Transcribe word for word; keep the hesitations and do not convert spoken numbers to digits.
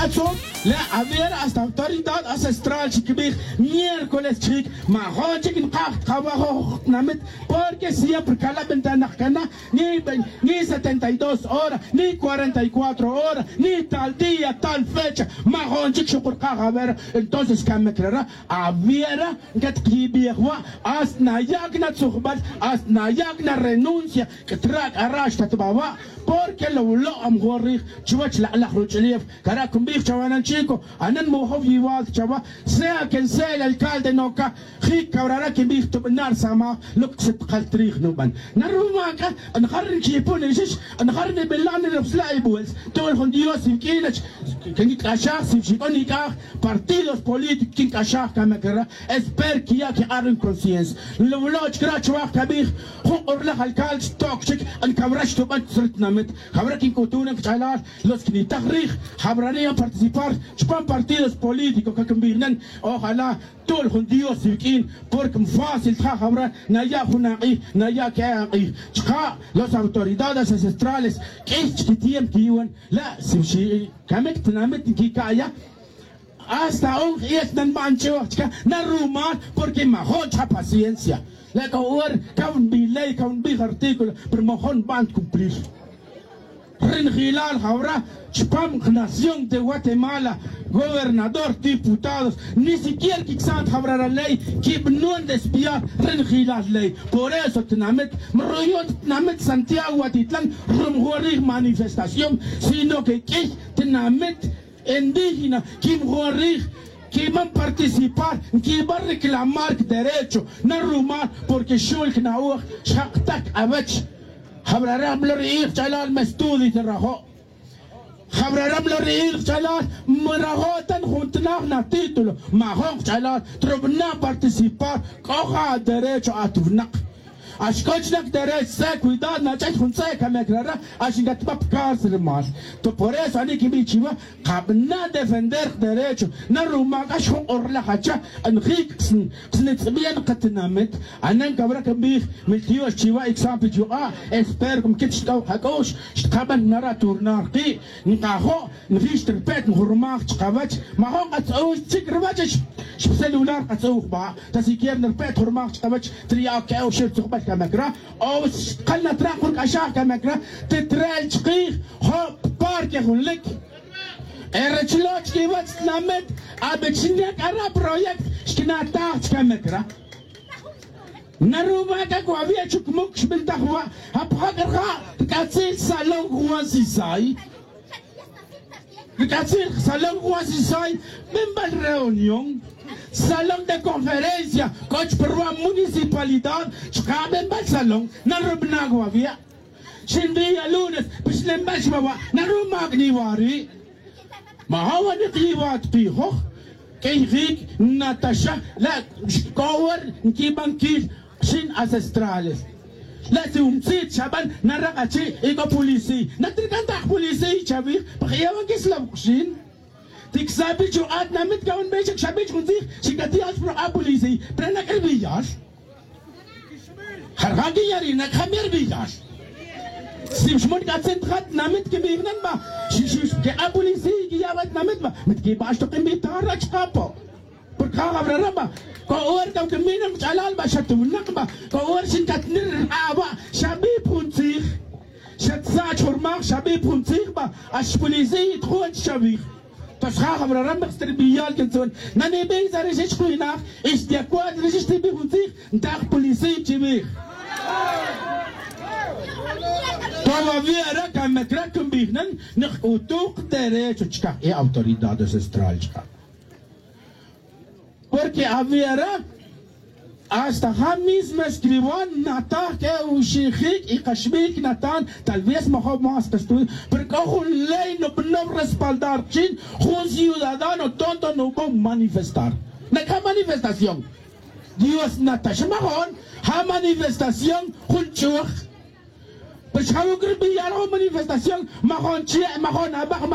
Tzot le aviera hasta autoridad ancestral chi quibij miércoles chic majun chic nkaj tkawajo tinamit. Porque siempre cala ventana cana ni setenta y dos horas ni cuarenta y cuatro horas ni tal día tal fecha majun chic xukurkaj aviera. Entonces camecrara aviera nquet kiyibij wa' hasta nayac natzujbal hasta nayac narenuncia. C'atra' c'ara' xtatbawa' porque lo wlo' amjun rij chuwech lak'laj ruch'ulef. Cara' cumbij chawa nan chico anan mujow yiwal chawa sea quien sea el alcalde noca. Jic cabrara quinbij tubana' rsamaj lo que se tkal trij nuban naruma c'a njar nchipun nixix njar nibila' nirupsla' ibuels. Tol jun dios iwq'uin nach quinq'uixaj si xic'on ic'aj partidos políticos quinq'uixaj camacara. Esper quiya' quik'ar ri nconsciencia. Lo wlo' chic ra' chuwaj cabij jun k'urlaj alcalde xtoc chic ncawra xtuban tzri tinamit. Jawra quinc'utun ri kach'alal los que nitaj rij jawra ri' participar chupan partidos políticos que quinbij nan. Ojala tol jun dios iwq'uin porque fácil tja jawra naya' jun ak'ij naya' que ak'ij. Chka' los autoridades ancestrales q'uiy chic tiempo quiyiwan la' si xicamic tinamit nquica'ya. Hasta onj ies nanban ch'uj chica narumal porque majun cha paciencia. La c'o hora caw nbiley caw nbij artículo pero majun nban cumplir. Ri njilal jawra chupam nación de guatemala gobernador diputados ni siquiera quicsan jawra ra ley. Quibnon despiar ri njilal ley. Por eso tinamit mruyon tinamit santiago watitlan rumjun rij manifestación sino que q'uiy tinamit indígena quimjun rij quiman participar nquiban reclamar derecho. Narumar porque xul quina'oj xjak'tac awech. Jawrara mlo ri'ij ch'alal me estudio tirajo'. Jawrara mlo ri'ij ch'alal mrajo' ta njuntanaj natítulo majun ch'alal trubana' participar. C'o ja aderecho atwnak. Axcoch nak derecho tze cuidado nach'ay jun tze camec rara. Ax ncatba pa cárcel mal to por eso ani quibi' chiwa. Kabana' defender derecho naruma' c'a xjun k'orlaj acha. Njic ksnitz'bian katinamit. Anan cawra cambij miltiox chiwa' icsan pi chuk'a'. Espero cmquit xtc'aw kac'u'x xtkaban nara' turnar ki'. Nkajo' nji'x trpet njurmaj chkawech. Majun katz'uj chic rwech xcelular katz'uj ba ta siquier nrpet jurmaj chkawech. Triya' oc que'oxil tzujbel camac ra o xkal natrak jurc'axaj camac ra. Titrel chkij jo' parque junlic. Erechlo' chkiwech tinamit. Abichina c'ara' proyecto xquinataj chcamac ra. Naruma' c'a cuaviya chucmuc xbiltaj wa' japajac rja' rc'atzil salón juan sisay. Rc'atzil salón juan sisay. Binbal reunión salón de conferencia. C'o chparwa' municipalidad chka' binbal salón narubna' cuaviya. Xinbiya lunes pixnenbal xbawa' naruma' cni wari'. Majawanik yiwat kijoj. Q'uiyjic nataxa la' xc'o wer nquiban quil. Xin ancestrales la' si umtzit xaban narak achi' y c'o policiy natrican ta aj policiy chavij. Pajyawan quislow xin. Ticsabich o atinamit cawan bey xa xabich jun tzij. Xicati'al xprok'a policiy pero nac'e rbiyal. Jarjan quiyarina cjamiya rbiyal. Si xmon c'a tzintja tinamit quibij nan ba xixix quek'a policiy quiya' ba tinamit ba. Mitquiba' xtok invitar ra chkapo. Porque ja' jabrara ba c'o hora c'a quimina kch'alal ba xatunak ba c'o hora xincatnir rk'a' ba xabij jun tzij. Xatzach jurmaj xabij jun tzij ba. Ax policiy tjun chavij. Pues ja' jabrara mix tribiyal quintzun nanibij sa rixix jwinaj. Ix de acuerdo rixix tibij jun tzij. Ntaj policiy chibij. Todavía ra camec ra quinbij nan. Nikc'utuj derecho chkaj y autoridad ancestral chkaj. Porque aviera hasta ja mismo escriban nataj que uxijic y kaxbil natan tal vez majob mas kastudio. Pero c'o jun ley nubanob respaldar chin jun ciudadano tonto nubow manifestar. Naca manifestación dios natax majon ja manifestación jun ch'uj. Pero xjawic rbiyal jun manifestación majon che' majon abaj.